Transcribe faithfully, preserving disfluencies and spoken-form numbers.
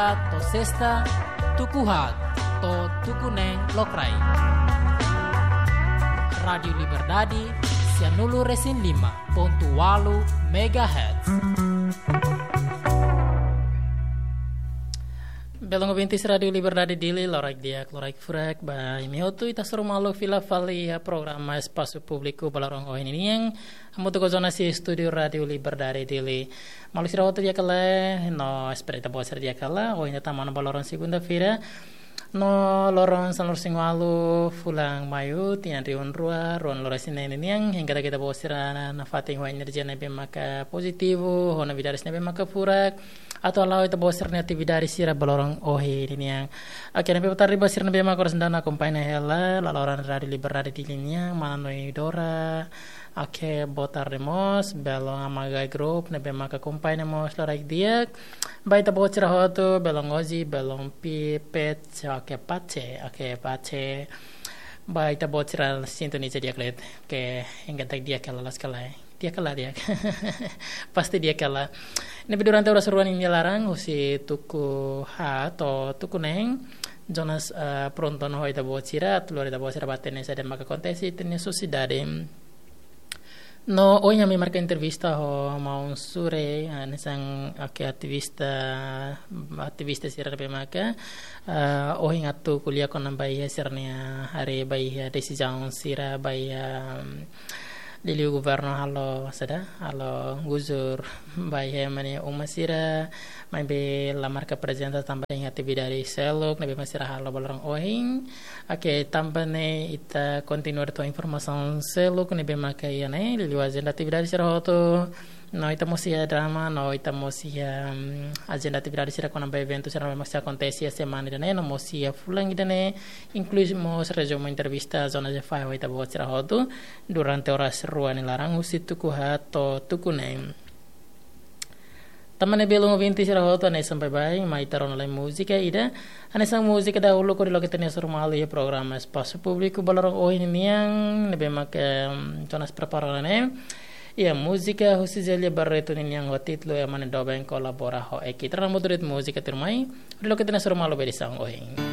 To'o sesta, tuku haat to'o tuku neen lokraik. Rádiu Liberdade, sia nulu resin lima pontu ualu megahertz. Belun ouvintes Rádiu Liberdade Dili, loraik di'ak, loraik furak ba imi hotu, ita hasoru malu fila fali iha programa Espasu Públiku ba loron ohin nian. Hamutuk ho Jonas iha estúdiu Rádiu Liberdade Dili. Maluk sira hotu di'ak ka lae, no espera ita-boot sira di'ak ka lae, ohin ita tama ona ba loron segunda-feira. No loron sanulu-resin-ualu fulan Maiu, tinan rihun rua, ruanulu-resin-neen nian, hengketa ita-boot sira nafatin ho enerjia ne'ebé maka pozitivu, ho novidades ne'ebé maka furak, atu hala'o ita-boot sira-nia atividade sira ba loron ohin nian. Oke, ne'ebé boa tarde ba sira ne'ebé maka oras ne'e akompaña hela, laloran Rádiu Liberdade Dili nian, mana Noi Dora. Oke, boa tarde mós, belun Amagai Group, ne'ebé maka akompaña mós loraik di'ak. Ba ita-boot sira hotu, belun Oji, belun Pi, Pet, oke, Pace, oke, Pace. Ba ita-boot sira sintoniza di'ak liu, oke, hengketa di'ak hela loos ka lae. Di'ak ka lae, di'ak. Pasti di'ak ka lae. Ne'ebé durante oras rua nia laran, husi tuku haat to'o tuku neen, Jonas, eh, prontu ona ho ita-boot sira, atu lori ita-boot sira ba hatene saida maka akontese iha ita-nia sosiedade. No ohin ami marka entrevista ho maun Sure, eh, hanesan, oke, ativista, ativista sira ne'ebé maka, eh, ohin atu ko'alia kona-ba iha sira-nia haree ba iha desizaun sira ba iha, mm, liuliu governu halo saida, halo gusur ba iha ema nia uma sira, maibé la marka prezensa tanba iha atividade seluk ne'ebé mak sira halo ba loron ohin. Oke, tanba ne'e ita kontinua atu tau informasaun seluk ne'ebé maka iha ne'e, liuliu ajenda atividade sira hotu. No ita mós iha drama, no ita mós iha, mm, ajenda atividade sira kona-ba eventu sira ne'ebé mak sei akontese iha semana ida-ne'e, no mós iha fulan ida-ne'e, inklui mós rezumu entrevista Jonas Jefai ho ita-boot sira hotu durante oras rua nia laran husi tuku haat to'o tuku neen. Tanba ne'e belun ouvinte sira hotu, hanesan baibain, mai ita rona lai múzika ida. Hanesan múzika dahuluk hodi loke ita-nia hasoru malu iha programa Espasu Públiku ba loron ohin nian, ne'ebé maka, em, Jonas prepara ona ne'e. Iha múzika husi Zélia Barreto nian ho títulu Ema nia Doben kolabora ho Eki. Ita rona hamutuk de'it múzika tuirmai, hodi loke ita-nia hasoru malu ba edisaun ohin.